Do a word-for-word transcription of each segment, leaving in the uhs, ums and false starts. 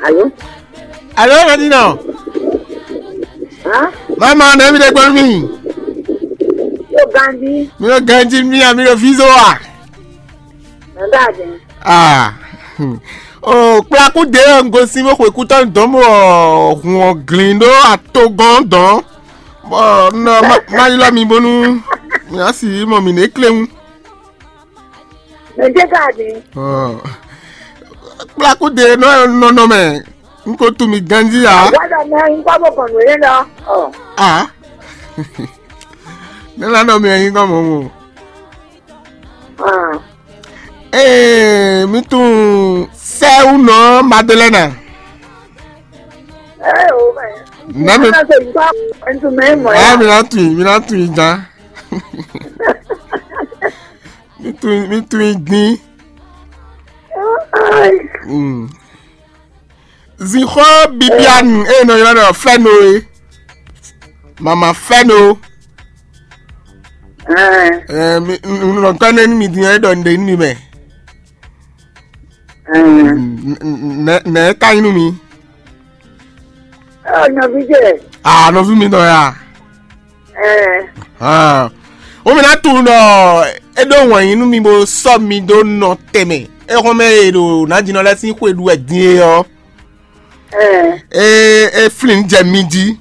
Alo? Alo, Nadina. Hã? Mama, ne mi ɖe gbɔn mi. Yo, Gandhi. Mi ɖo ganji mi a, mi ɖo vizo a? Nada de. Ah. O kplaku de ŋgosi mo xwe kutɔ dɔn mo hun ɔ glin ɖo atogɔn dɔn. Bɔ nɔ ma ma ylɔ mi bonu mi asi mɔ mi ne klewun. Mɛ dé ka di. Kplaku de nɔ nɔnɔ mɛ n ko tu mi ganji ya. Wala mɛ n kɔ bɔ kɔn nuyɛ lɔ. Ah. Ne la nɔ mi yin kɔ mɔ mo. Ah. Ee, mi tun sɛwu nɔ Madeleine. Ee o mɛ. Nami. Ana se n kɔ n tu mɛ mɔ ya. Ah, mi na tun, mi na tun jan. Mi tun, mi tun din. Ai. Mm. Zixɔ Bibiane e nɔ ylɔ́ ɖɔ Fɛno e. Mama Fɛno. Ɛɛ. Ɛɛ, mi un nɔ kɔ ne mi din e ɖɔ n ɖe mi mɛ. Ɛɛ. Nɛ nɛ ka nyi nú mi. Ɔ, nɔví ce. Ah, nɔví mi nɔ ya. Ɛɛ. Ah. Wo mi na tunwun ɖɔ é ɖó wɛn nyi nú mi bó sɔ́ mi dó nɔ tɛnmɛ. É xɔ́n mɛ e ɖo nǎjínɔ lɛ́ɛ sín xwe ɖu wɛ din é ɔ́. Ɛɛ. É é flin jɛ mi jí.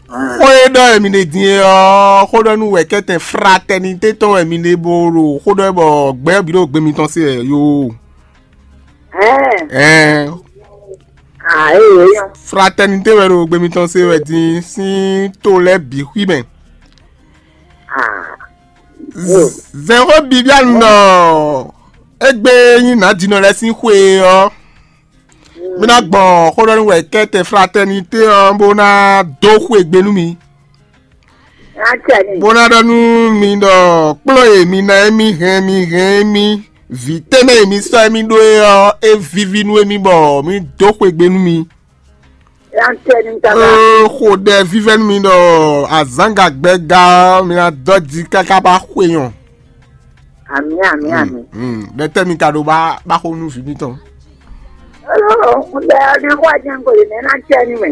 Xó e ɖɔ wɛ mi ɖe din é ɔ́, xó ɖɔ nú wɛ̌kɛ́tɛn fraternité tɔn wɛ mi ɖe bó ɖo xó ɖɔ wɛ bɔ gbɛ́ bǐ ɖo gbe mitɔn se wɛ yo. Ɛɛ. Ɛɛ. Ah, ee, ee. Fraternité wɛ ɖo gbe mitɔn se wɛ din sín to lɛ́ɛ bǐ xwí mɛ. Ah. Zɛ̌nxó Bibiane ɖɔ égbé nyí nǎjínɔ lɛ́ɛ sín xwe ɔ́, mi ná gbɔn xó ɖɔ nú wɛ kɛ́tɛ fraternité ɔ́ bó ná dó xwe gbe nú mi. Bó ná ɖɔ nú mi ɖɔ kplɔ́ e mi ná émí hɛn mi hɛn émí vǐ tɛ́nmɛ e mi sɔ́ émí ɖó é ɔ́, é víví nú émí bɔ mi dó xwe gbe nú mi. Ee, xo ɖɛ vívɛ́ nú mi ɖɔ azǎn gagbɛ́ ga ɔ́, mi ná dɔ́ ji káká bá xwe nyɔ. Amǐ, amǐ, amǐ. Ɖɛtɛ́ mi ka ɖo bá bá xo nú vǐ mitɔn. Olo, un ɖe ɔ́ ná xɔ ajɛn ko ɖe mɛ ná tɛ nú mɛ.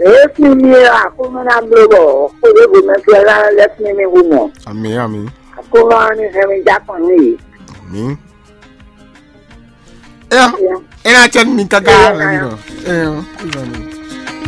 Èé fún mi ɔ́, Aklúnɔ ná bló bɔ xwé ɖěvo mɛ fia lá lɛ́ fún mi hu mɔ. Amǐ, amǐ. Aklúnɔ ɔ́ ní hɛn mi já kɔn nú yě. Amǐ. É ɔ́, é ná tɛ nú mi káká. Ɛ ɔ́, é ná tɛ nú mi.